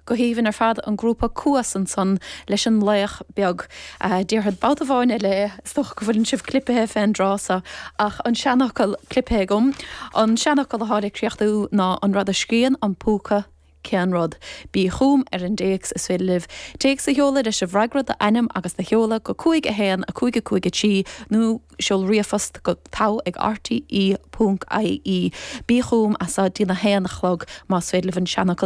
Go haoibhinn ar fad, an grúpa Cuas ansan leis an Laoch Beag. Déarfad babhta amháin eile é, is dócha go bhfuileann sibh clipithe fén dtráth so, ach an seanfhocal clipithe agam. An seanfhocal athá le críochnú ná an rud a scríonn an púca, cén rud? Bí chugam ar an dtéacs is féidir libh téacs a sheoladh leis an bhfreagra, d'ainm agus do sheoladh go 5 1 5 5 3 nó seol ríomhphost go togha ag rte ponc ie. Bí chugam as seo dtí'n 1 a chlog más féidir libh an seanfhocal.